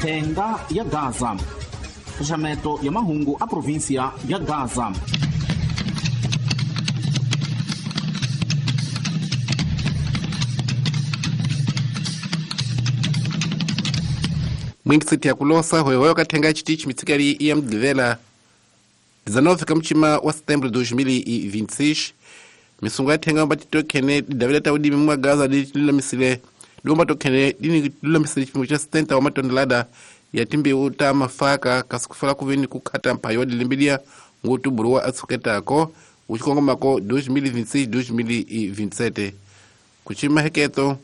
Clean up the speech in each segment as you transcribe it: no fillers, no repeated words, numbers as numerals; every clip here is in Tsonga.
Thenga ya Gaza. Xaxameto ya mahungu a provinsia ya Gaza. Mwingisiti ya kulosa hoyohoyo kathenga chitichi mitsikali ya mdivela 19 kamuchima wa setembro 2026 misungu yathenga mbati tokhene didavila taudimi mwa Gaza dililamisile diomba tokhene dililamisile chipimo cha 70 wa matonelada ya timbewu ta mafaka kasikufala kuveni kukhata mphayo wa dilimbilia ngutubuluwa atsuketako uchikongomako 2026-2027 kuchima heketo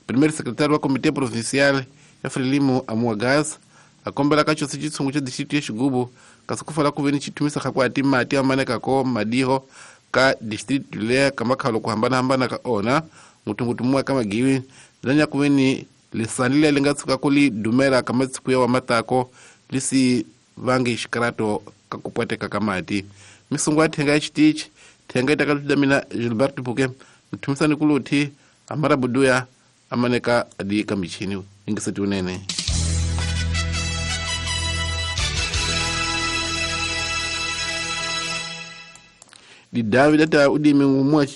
primeiro secretário wa Comitê Provincial ya Frelimo amua Gaza akombela kachosi chitsungu cha distrito ya Xigubu kasikufala kuveni chithumisa khakwati mati amanekako madiho ka distrito leya kamakhalo kuhambanahambana ka ona ngutungutu muwa ka magiwi lanya kuveni lisani lia linga tsuka kuli dumela kamatsiku ya wamatako lisi vangi xikarato kakupwateka ka mati misungu ya thenga ya xitichi thenga itakatudamina Gilberto Puke mthumisani kuluthi amara buduya amaneka adi kamichini ingiseti unene. Didavi data udimi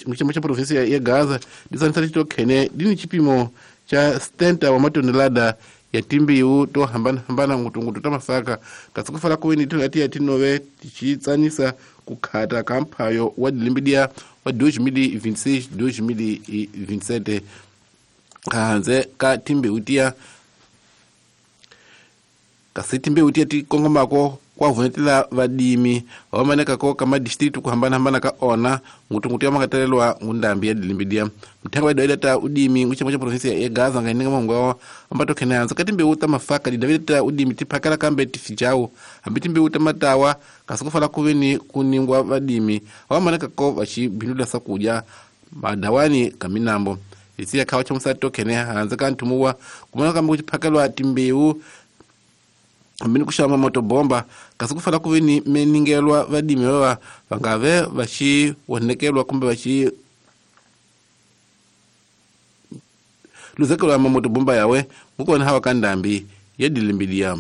muchama cha provinsia ya Gaza disanisa chitokhene dini chipimo cha 70 wa matonelada ya timbiwu to hambana ngutungutu ta mafaka kasikufala kuweni tingati ya tinove tichitsanisa kukhata kamphayo wa dilimbidia wa 2026-2027 kahanze ka timbewu tiya kasi timbewu tiya tikongomako kwavunetela vadimi vamanekako ka madistritu kuhambanahambana ka ona ngutungutu ya makatalelwa ngundambi ya dilimbidia mthenga wa idawida ta udimi nguchama cha provinsia ya Gaza ngaininga mahungu awa ambatokhene hanza ka timbewu ta mafaka didavida ta udimi tiphakela kambe tifijawu hambi timbewu ta matawa kasi kufala kuveni kuningwa vadimi vamanekako vachibindula sakudya madawani ka minambo isiya khawa cha musati tokhene hanza ka nthumuwa kumana kambe kuchiphakelwa timbewu ambini kuxava motobomba kasi kufala kuveni meningelwa vadimi vava vangave vaxi wonekelwa kumbe vaxi luzekelwa mamotobomba yawe ngukona hawa ka ndambi ya dilimbilia.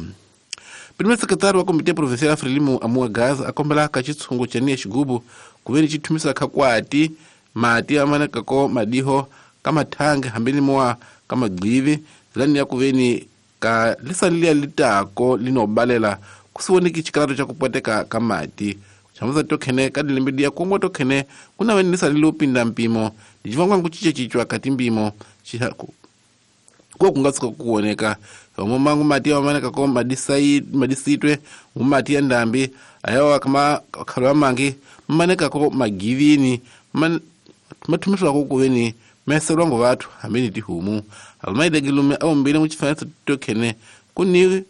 Primeiro secretário wa Comitê Provincial Frelimo amua Gaza akombela ka chitsungu cha niya xigubu kuveni chithumisa khakwati mati amanekako madiho ka mathangi hambini mowa ka magqivi zilani ya kuveni ka lisani lia litako linobalela kusiwoneki xikalato xa kupwateka ka mati xamusa tokhene ka dilimbidia kongwa tokhene kuna veni lisani lopinda mpimo licivangwa nkucincacicwa ka timpimo ko kunga tshuka kuwoneka omo mati amanekako madisitwe ngumati ya ndambi ayawa kama khalo amangi mmanekako magivini mathumiswako kuveni meselwa ngo vathu hambeni tihumu alumaitekilume awombile muchifananiso tokhene kuni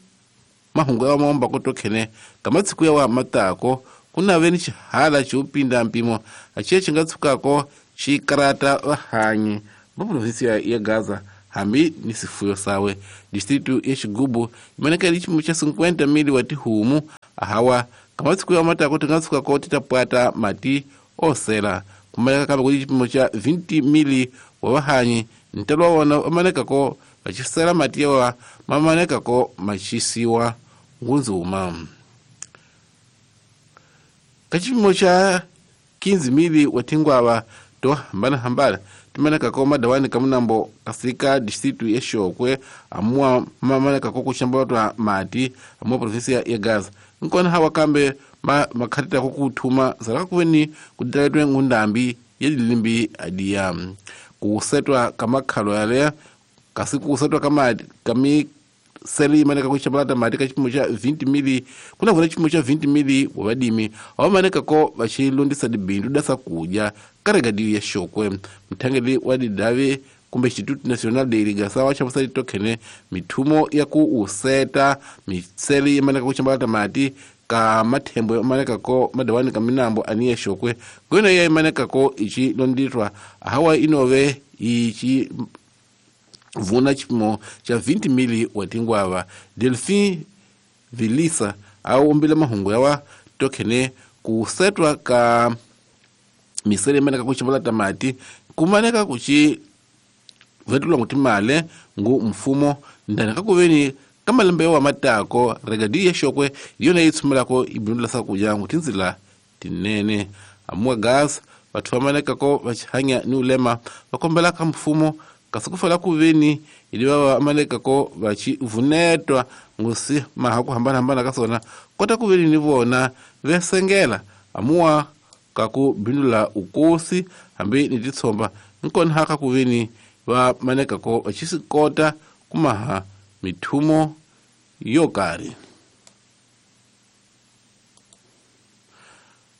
mahungu yawa maombako tokhene kamatsiku yawa matako kunaveni xihala xiupinda mpimo aciye xi nga tshukako xikarata vahanyi va provinsia ya Gaza hambi ni sifuyo sawe. Distritu ya Xigubu imanekele xipimo xa 50,000 wa tihumu ahawa kamatsiku yawa matako ti nga tshukako ti ta pwata mati osela kumaleka kambe kuli xipimo xa 20,000 wa vahanyi ntelo wa wona vamanekako vaxisela mati yawa mamanekako maxisiwa ngunzuma ka xipimo xa 15,000 wa tingwava to hambanahambana timanekako madawani ka munambo kasi ka distritu ya Xokwe amuwa mamanekako kuxambatwa mati amuwa provinsia ya Gaza nkona hawa kambe makhatitako kuthuma zalaka kuveni kuditaletwe ngundambi ya dilimbi adiya kusetwa kamakhalo yaleya kasi kusetwa kamisele imaneka kuxambalata mati ka xipimo xa 20,000 kuna vona xipimo xa 20,000 wa vadimi avamanekako vaxilondisa dibindu da sakudya ka regadiyo ya Xokwe mthangeli wa didavi kumbe Instituto Nacional de Irrigação wa xamusa titokhene mithumo ya ku useta misele imaneka kuxambalata mati ka mathembo imanekako madawani ka minambo ani ya Xokwe ngwena ya imanekako ichi londitwa hawa inove ichi vuna xipimo xa 20,000 wa tingwava. Delphin Vilisa awombile mahungu yawa tokhene kusetwa ka misele imaneka kuxambalata mati kumaneka kuxi vetulwa ngutimale ngu mfumo ndani kakuveni Ka malembe wa matako regadi ya xokwe hi yona yi tshumelako yi bindula swakudya tindzila tinene. Amuwa gas vathu va manekako va chihanya ni ulema va kombela ka mfumo kasi ku fela ku veni hi va va manekako va chivunetwa ngosi maha ku hambanahambana ka swona kota ku veni ni vona vesengela amuwa ka ku bindula ukosi hambi ni titshomba nkona ha ka ku veni va manekako va chisikota kumaha mithumo yo karhi.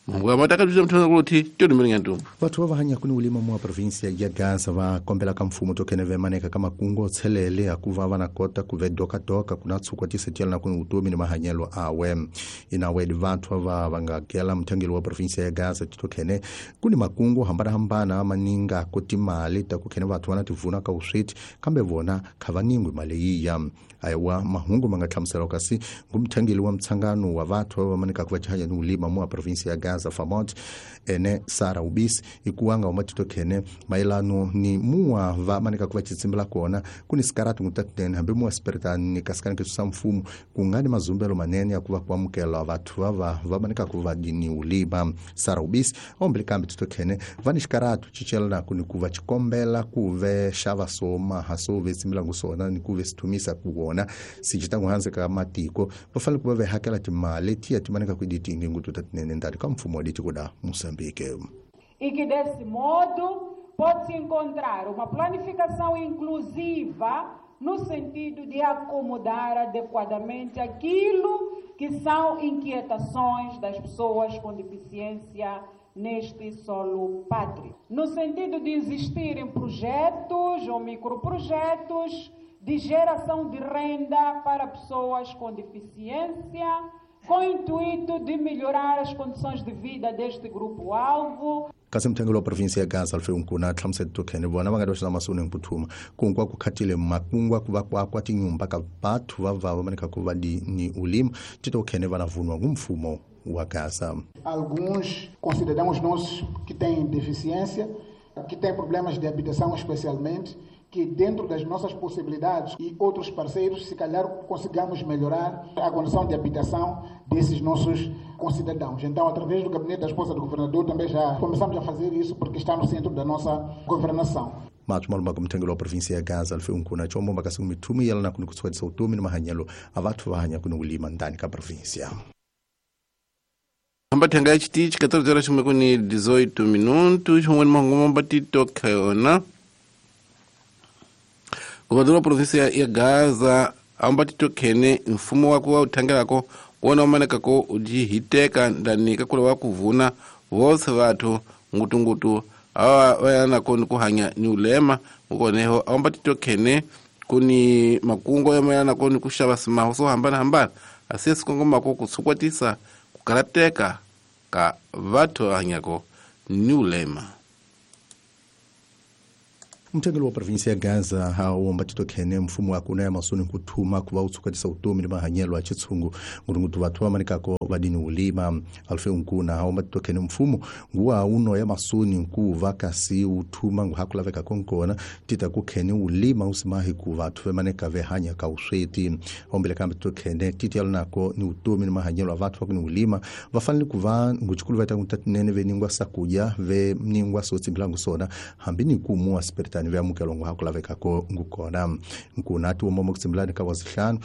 Mungu amataka bya mthona kuthi tyo ni ntombo. Vathu va hanya kuni ulima mwa provinsia ya Gaza va kombela ka mfumo to kene vemaneka ka makungo tshelele akuva vana kota ku ve doka doka kuna tsukwa tisetiela na kuni utomi ni mahanyelo awe. Inawe vathu va vanga kela mthangelo wa provinsia ya Gaza to kene kuni makungo hambana hambana maninga kotimali ta ku kene vathu vana tivuna ka usweti kambe vona khavaningwi mali yiya. Aiwa mahungu manga hlamusela kasi ngumthangeli wa mtsangano wa vathu va maneka ku va chanya ni ulima mwa provinsia ya Gaza Famot ene Sara Ubisi ikuanga umatito kene mailano ni muwa va manika kuva chitsimbela kona kuni sikaratu ngutatene hambi muwa spiritani kasikani kisusa mfumo kungani mazumbelo manene ya kuva kuamukela vathu va va manika kuva ni ulima. Sara Ubisi ombele kambi tito kene vani sikaratu chichela kuni kuva chikombela kuve shava soma haso vetsimbela ngusona ni kuve situmisa kuona sichitangu hanze ka matiko vafale kuva vehakela timali tiya timanika kuiditingi ngututatene ndari ka mfumo kuda Moçambique. E que desse modo pode-se encontrar uma planificação inclusiva no sentido de acomodar adequadamente aquilo que são inquietações das pessoas com deficiência neste solo pátrio. No sentido de existirem projetos ou microprojetos de geração de renda para pessoas com deficiência, com o intuito de melhorar as condições de vida deste grupo-alvo. Kasi mthengelo wa provinsia ya Gaza alfe nkuna hlamusela to kene vona va nga doxa masoni mputhuma kunkwa ku khatile makungwa ku va kwa kwa tinyumba ka vathu va va manika ku va ni ulima tito kene vana vunwa ngumfumo wa Gaza. Alguns concidadãos nossos que têm deficiência, que têm problemas de habitação especialmente, que dentro das nossas possibilidades e outros parceiros, se calhar consigamos melhorar a condição de habitação desses nossos concidadãos. Então, através do gabinete da esposa do governador, também já começamos a fazer isso, porque está no centro da nossa governação. Mathu maluma kumthengelo wa provinsia ya Gaza alfe unkuna chombo makasi mithumi yala na kunukutswetsa utomi ni mahanyelo a vathu va hanya kunulima ndani ka provinsia. Ambathenga ya chitichi 14 horas kuni 18 minutos, humweni mahungu mbatito khayona. Governador wa provinsia ya Gaza ambatito khene mfumo wa kuwa uthangelako wona umanekako ujihiteka ndani kakula wa kuvuna vose vathu ngutungutu awa vayanako ni kuhanya ni ulema ukoneho ambatito khene kuni makungo yamayanako ni kuxava simaho swo hambanahambana asiye sikongomako kutshukwatisa kukarateka ka vathu hanyako ni ulema. Mthengelo wa provinsia ya Gaza hawo mbatito khene mfumo wa kuna ya masoni kuthuma kuva utsukatisa utomi ni mahanyelo a chitsungu ngurungutu vathu va manikako vadini ulima alfe unkuna hawo mbatito khene mfumo nguwa uno ya masoni nkuva kasi uthuma nguhakulaveka konkona tita kukhene ulima usimahi ku vathu vemaneka vehanya ka usweti ombele kambe tito khene titi yalonako ni utomi ni mahanyelo a vathu vakuni ulima vafanele kuva nguchikulu vaita ngutatinene veningwa sakuja veningwa sotsimbila sona hambi ni kumuwa spiritani vyamukelo nguhakulavekako ngukona nkuna ati womomo kutsimbilani ka wazihlanu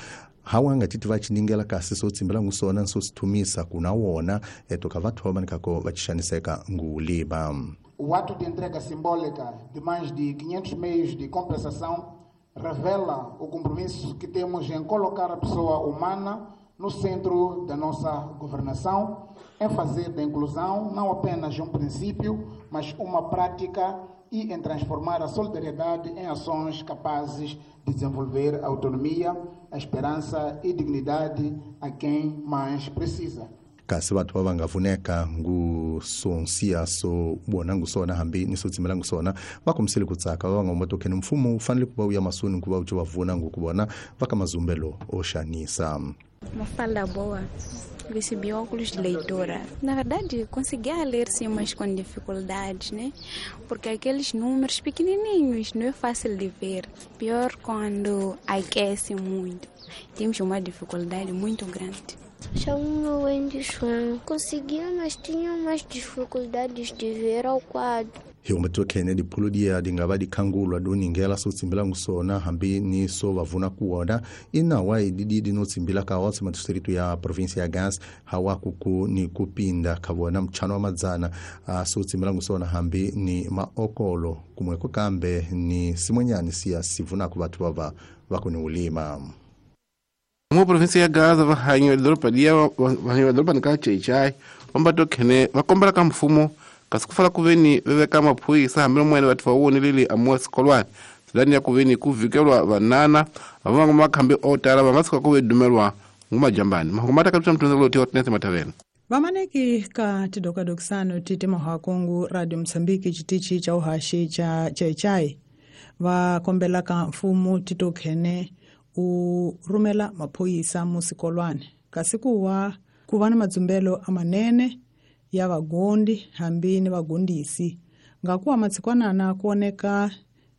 hawa ngatiti vachiningela kasi sotsimbila ngusona nsosithumisa kuna wona etoka vathu vamanikako vachixaniseka ngulima. O ato de entrega simbólica de mais de 500 meios de compensação revela o compromisso que temos em colocar a pessoa humana no centro da nossa governação, em fazer da inclusão não apenas um princípio, mas uma prática e em transformar a solidariedade em ações capazes de desenvolver a autonomia, a esperança e dignidade a quem mais precisa. Kasi vathu va nga vuneka ngusonsiya so vona ngusona hambi ni sotsimela ngusona va kombisile ku tsaka va nga mboto khene mfumo wu fanele ku va wu ya masoni ku va wu va vuna ngukuvona va ka mazumbelo o xanisa. Mafalda boa. Recebi óculos de leitura. Na verdade, conseguia ler sim, mas com dificuldades, né? Porque aqueles números pequenininhos não é fácil de ver. Pior quando aquece muito. Temos uma dificuldade muito grande. Chamo-me Wendy Chuan. Conseguia, mas tinha mais dificuldades de ver ao quadro. Hi khene diphulu diya di nga va dikhangulwa do ningela so tsimbila ngusona hambi ni so va vuna kuwona inawa ididi no tsimbila ka otse madistritu ya provinsia ya Gaza hawa kuku ni kupinda khavona mchano wa madzana so tsimbila ngusona hambi ni maokolo kumweko kambe ni simwenyani siya sivuna ku vathu vava vakuni ulima. Mu provinsia ya Gaza vahanyi va doroba liya vahanyi va doroba ni ka Chaichai vambato khene va kombela ka mfumo kasi ku fala ku veni veveka maphorisa hambi lomwene vathu va woneleli amuwa sikolwani silani ya ku veni ku vhikelwa vanana va nga makhambi o tala va nga tshuka ku ve dumelwa ngumajambani mahungu ma ta kapita mtunzi loti Hortense Matavela. Vamaneki ka tidokadokisano tite mahakongu Radio Msambiki chitichi cha uhashi cha Chaichai va kombela ka mfumo titokhene u rhumela maphorisa musikolwani kasi kuwa ku va na madzumbelo amanene ya vagondi hambi ni vagondisi ngakuwa matsikwanana kuoneka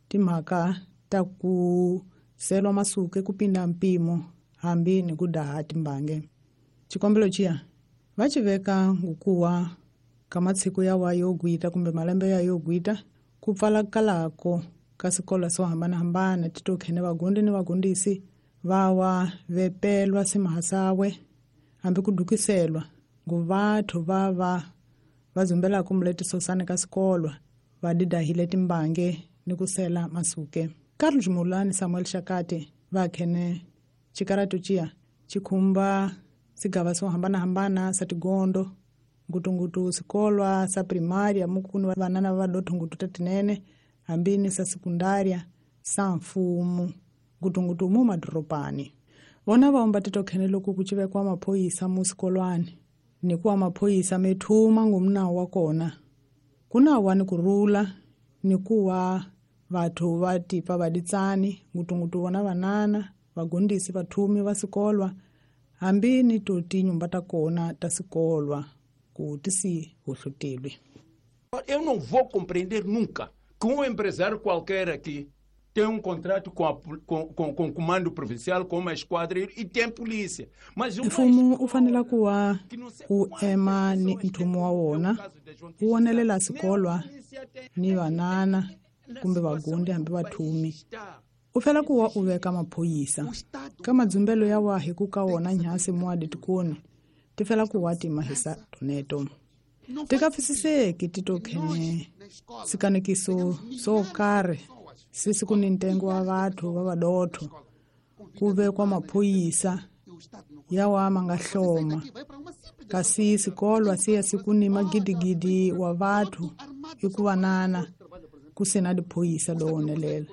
timhaka ta ku selwa masuke kupinda mpimo hambi ni ku daha timbange. Xikombelo xiya va xi veka ngukuwa ka matshiku yawa yo gwita kumbe malembe ya yo gwita ku pfala kalako ka swikolo swo hambanahambana titokhene vagondi ni vagondisi vawa vepelwa simahasawe hambi ku dukiselwa nguvathu vava va zumbelaka muletisosani ka swikolo va didahile timbange ni ku sela masuke. Carlos Mulani Samuel Shakati va khene xikaratu xiya xi khumba swigava swo hambanahambana swa tigondo ngutungutu swikolwa swa primaria mukuni vanana va dothungutu ta tinene hambi ni swa sekundaria sa mfumo ngutungutu mu madorobani. Vona va omba titokhene loko ku civekiwa maphorisa mu swikolwani ni kuwa maphorisa methuma ngumnawu wa kona ku nawa ni ku rhula ni kuwa vathu va tipa va ditsani ngutungutu vona vanana vagondisi vathumi va swikolwa hambi ni to tinyumba ta kona ta swikolwa ku ti si hohlotelwi. Eu não vou compreender nunca que empresário qualquer aqui tem contrato com o comando provincial, com uma esquadra e tem polícia. Mas mfumo u fanele ku va u ema ni nthumo wa wona wu wonelela swikolwa ni vanana kumbe vagundi hambi vathumi. U fela ku va u veka maphorisa ka madzumbelo ya wa hi ku ka wona nyhasi muadi tikoni ti fela ku wa timahisa toneto. Ti ka pfisiseki titokhene swikanekiso swo karhi sisi ku ni ntengo wa vathu va vadotho ku vekwa maphorisa yawa ma nga hloma kasi swikolwa siya siku ni magidigidi wa vathu i ku vanana ku sina diphorisa do wonelela.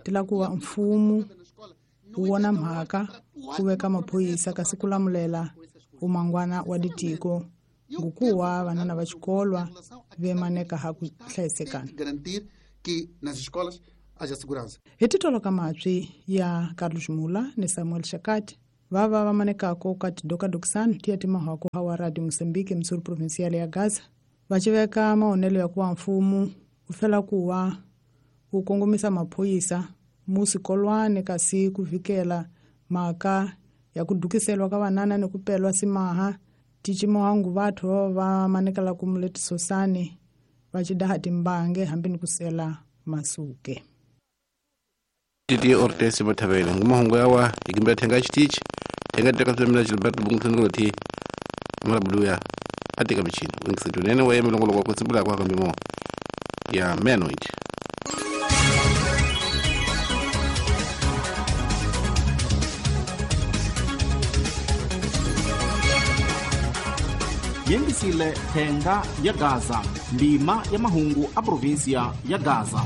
Ti la ku va mfumo wu vona mhaka ku veka maphorisa kasi ku lamulela umangwana wa ditiko ngukuwa vanana va xikolwa vemaneka ha ku hlayisekana. Que nas escolas haja segurança. Hi titolo ka matswi ya Carlos Mula ni Samuel Shakati vava va manekako ka tidokadokisano tiya timahako hawa Radio Mozambique Msuri Provincial ya Gaza va xiveka maonelo ya ku va mfumo u fela ku va wu kongomisa maphorisa mu swikolwani kasi ku vhikela mhaka ya ku dukiselwa ka vanana ni ku pelwa simaha ticimohangu vathu va va manekela ku muletisosani va xidaha timbange hambi ni ku sela masuke. Titi Hortense Matavela ngumahungu yawa ikimbela thenga xitichi thenga teka swemela Gilberto Bungutengoloti murabuluya atika michini wingisetunene wa yemilongolo kwa kutsimbula kwa kambimo ya menoid. Yengisile thenga ya Gaza ndima ya mahungu a provinsia ya Gaza.